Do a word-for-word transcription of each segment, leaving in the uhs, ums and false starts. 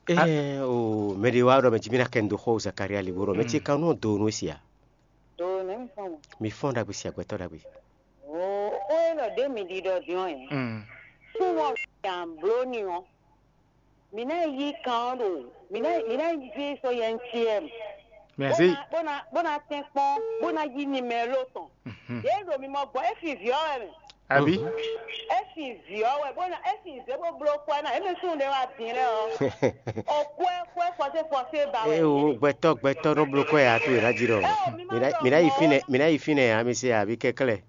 Ɛɛ o, mɛ ɖé wá ɖɔ mɛ jí mí ná kɛ nu dó xɔ Zakaria li bó ɖɔ mɛ ce kan nɔ do nú si a? Do nɛ mi fɔn mɔ. Mi fɔn ɖagbe si agbɛtɔ ɖagbe. O o e lɔ ɖe mi ɖi ɖɔ diɔn yɛ. Mm. Fún wọn yan bló ni ɔ. Mi ná yí kan ɔ ɖo. Mi ná mi ná yí so yɛn ti ɛ. Mɛ Bó se na bó na bó na tɛn kpɔn bó na yí nimɛlo tɔn. Mhm. Yé ɖo mi mɔ gbɔ efi vǐ ɔ wɛ mɛ. Àbí? Efi vǐ ɔ wɛ bó na efi zé bó bló kɔ ɛ na eme sún ɖe wá dín lɛ ɔ. O kɔ ɛ kɔ ɛ fɔsé fɔsé ba wɛ. Ee o, gbɛtɔ gbɛtɔ nɔ bló kɔ ya to yena jí ɖɔ. Ɛ o mi ma Mina ɖɔ mina yi mɔ. Fínɛ mina yi fínɛ ya mi se abi kɛklɛ.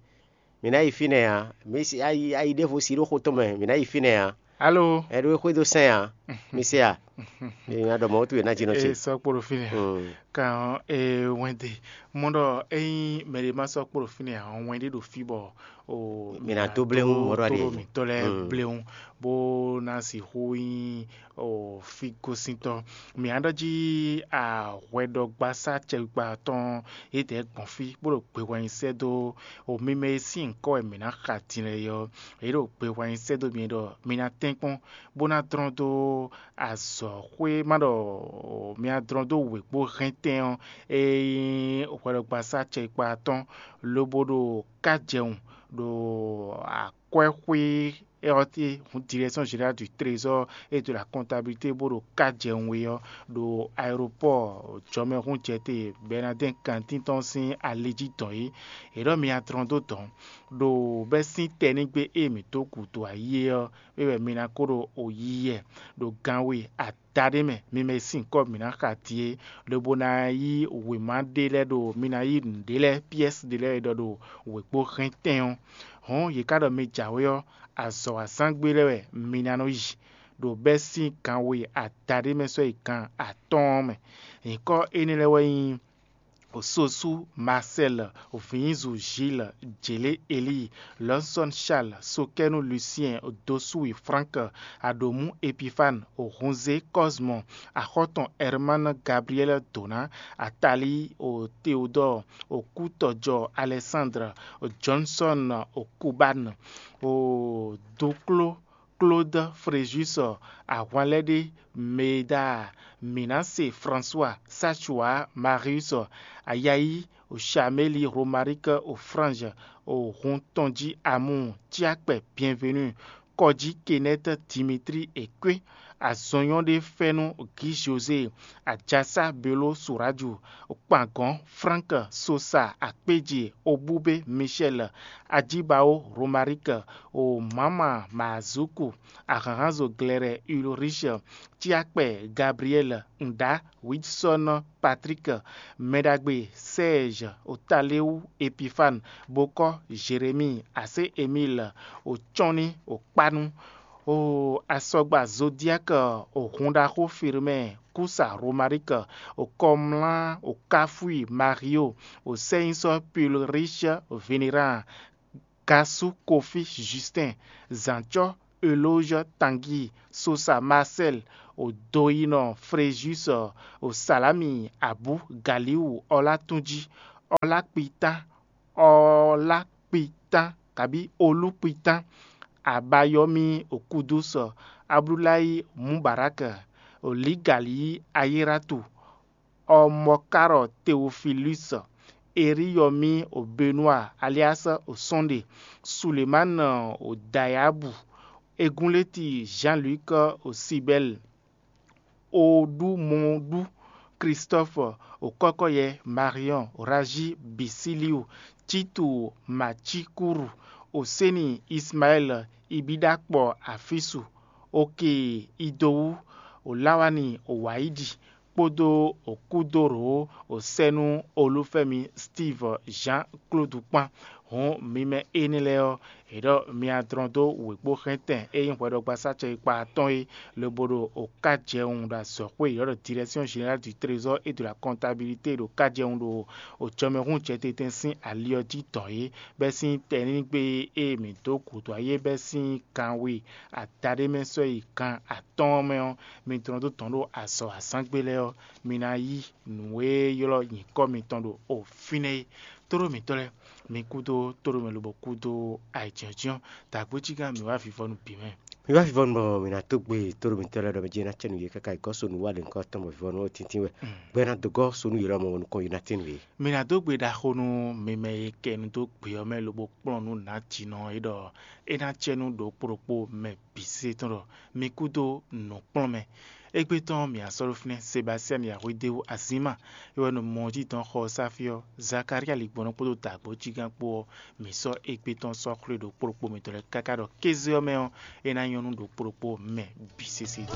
Mina yi fínɛ ya mi se ayi ayi ɖevo si ɖo xo tɔn mɛ mina yi fínɛ ya. Alo. Ɛ ɖo xwe do sɛn ya. Mi se ya. Mi na ɖɔ mɔ to yena jí nɔ Ee ce. Sɔ kpolo fínɛ. Hmm. Kan e wɛnde mɔ ɖɔ eyin mɛ ɖe ma sɔ kpolo fínɛ ya ɔ wɛn ɖe ɖo fí bɔ o Mi na dó bléwún mɔ ɖɔ ɖe. Mitɔ lɛ bléwún bó ná sixú nyí o fígosíntɔ. Mi ná ɖɔ jí ahwɛɖɔgbasá cɛwikpa tɔn yědɛɛ gbɔn fí bó ɖo gbe wɛn sɛ́ dó o mi mɛ e sín nyǐkɔ wɛ mǐ ná xa din lɛ é ɔ́, yě ɖo gbe wɛn sɛ́ dó mi ɖɔ mi ná tɛ́nkpɔ́n bó ná dlɔ́n dó azɔ̌xwé ma ɖɔ mi ná dlɔ́n dó wěkpó hɛntɛn ɔ́, e nyí hwɛɖɔgbasá cɛkpa tɔn lobo ɖo kájɛwun ɖo akwɛ́xwé ɔ́ té hǔn Direction Générale du Trésor et de la Comptabilité bó ɖo kájɛwun é ɔ́ ɖo aéropɔ́ɔ jɔmɛhúnjɛte Bɛnadɛ́n kantín tɔn sín ali jí dɔn é. È ɖɔ mi ná dlɔ́n dó dɔ̌n ɖo bɛ́ sín tɛnígbe e mǐ dó gǔdo ayí é ɔ́, é wɛ mi ná ko ɖo o yiyɛ ɖo gan we adaɖé mɛ mi mɛ e sín kɔ́ mǐ ná xa din é, lobo ná yí wěma ɖé lɛ́ɛ ɖo mi ná yí nǔɖé lɛ́ɛ pyɛ́si ɖé lɛ́ɛ e ɖɔ ɖo wěkpó hɛntɛn ɔ́. Hɔ̌n yě ká ɖɔ mi jǎwe ɔ́, azɔ̌ wa zán gbé lɛ́ɛ wɛ mi ná nɔ yi, ɖo bɛ́ sín gan we adaɖé mɛ sɔ́ yi gan atɔ́ɔ́n mɛ. Nyǐkɔ énɛ́ lɛ́ɛ wɛ nyí Sosu Marcel, Vǐnzu Gilles, Jělé Elíi, Lɔ̌nsɔ́n Charles, Sokɛ́nu Lucien, Dosúwi Frank, Aɖǒmú Epifane, Hunzé Cosmo, Axɔ́tɔn Herman Gabriel Dona, Atalí Théodore, Kútɔjɔ Alexandre, Johnson Cubane, Dokló Claude Fréjus, Ahwanlɛ́ɖé Médard, Mǐnase François, Sachua Marius, Ayayi Chameli, Romaric Frange, hun tɔn jí Amu, Tiakpɛ Bienvenu, Kɔjí Kenneth Dimitri Ekwe, Azɔnyɔ́ɖé Fɛ́nú Guy José, Ajasa Beló Suraju, Kpangɔn Frank Sosa, Akpéje Obúbé Michel, Ajíbaó Romaric, Mǎma Mazuku, Ahǎnhánzo Glɛrɛ Ulrich, Tiakpɛ Gabriel, Nda Wilson Patrick, Mɛɖagbe Serge, Otaléwu Epifane, Bokɔ Jérémie, Asé Emile, Ocɔ́nní Okpánú, o asɔgba Zodiak, o hunɖaxó Firmɛ, Kúsa Romaric, o kɔmlá o Káfui Mario, o sɛ́nyísɔ́ Pulrich Veneran, Gasú Kofi Justin, Zǎncɔ́ Eloge Tanguy, Sosa Marcel, o doyinɔ Fréjus, o Salami Abú Galiwu Ɔlátúnjí, Ɔlákpitán, Ɔlákpitán kabí Olúkpitán, Abayɔ́mí Okúdúsɔ, Abdulayi Mubarak, Olígalí Ayératu, Ɔmɔkárɔ Teofilus, Eriyɔ́mí Benua alias Sunday, Sulemani Dayabu, Egúnléti Jean-Luc Sibɛl, Oɖumɔɖu Christophe, Okɔkɔyɛ Marion, Raji Bisiliu, Titu Macikuru, Oseni Ismael, Ibidakpɔ Afisu, Oke Idowu, Olawani Waidi, kpódó Okúdóró, Osɛ́nú Olúfɛ́mi Steve Jean Claude kpán. Hǔn mi mɛ énɛ́ lɛ́ɛ ɔ́, è ɖɔ mi adlɔn dó wěkpóxɛ́ntɛn e nyí hwɛɖɔgbasá cɛyikpa atɔ́ɔ́n é, lobo ɖo okájɛwun ɖo azɔ̌xwé e è ylɔ́ ɖɔ Direction Générale du Trésor et de la Comptabilité ɖo kájɛwun ɖo òjɔmɛhúnjɛtɛn sín ali ɔ́ jí dɔn é, bɛ́ sín tɛnígbe e mǐ dó gǔdo ayé bɛ́ sín gan we adaɖé mɛ sɔ́ yi gan atɔ́ɔ́n mɛ ɔ́, mi dlɔn dó dɔn ɖó azɔ̌ azǎngbe lɛ́ɛ ɔ́, mi ná yí nǔ e ylɔ́ nyǐkɔ mitɔn ɖo o fínɛ́ é. Tóɖó mǐtɔn lɛ́ɛ, mi kúdó tóɖó mɛ lobo kúdó ayǐjínjɔ́n, dǎgbéjígán mǐ wá vivɔnu bǐ mɛ. Mi wá vivɔnu bɔ mi ná dó gbe tóɖo mitɔ́ lɛ́ɛ ɖɔ mɛ jɛ ná cɛ nǔ yě káká yi gɔ́ sonu wá lě ŋkɔ tɔn bɔ vivɔnu ɔ́ tíntín wɛ. Gbɛ ná dó gɔ́ sonu yě lɔmɔ̌ nukɔn yi ná tín nǔ yě. Mi ná dó gbe ɖaxó nú mi mɛ e kɛ nu dó gbe ɔ́ mɛ lobo kplɔ́n nú nǎjínɔ é ɖɔ é ná cɛ nú ɖokpó ɖokpó mɛ bǐ sésé tɔn ɖɔ mi kúdó nǔkplɔ́nmɛ. Égbé tɔn mǐ asɔ́ ɖó fínɛ́ Sebastiyani Yahwedeu Azima é wɛ nɔ mɔ jí dɔn xɔ ɔ́ sá fí ɔ́, Zakalía ligbɔnɔ kpódó dǎgbó jigán kpó ɔ́, mǐ sɔ́ égbé tɔn sɔ́ xwlé ɖokpó ɖokpó mitɔn lɛ́ɛ káká ɖɔ kéze ɔ́ mɛ ɔ́, é ná nyɔ́ nú ɖokpó ɖokpó mɛ bǐ sésé.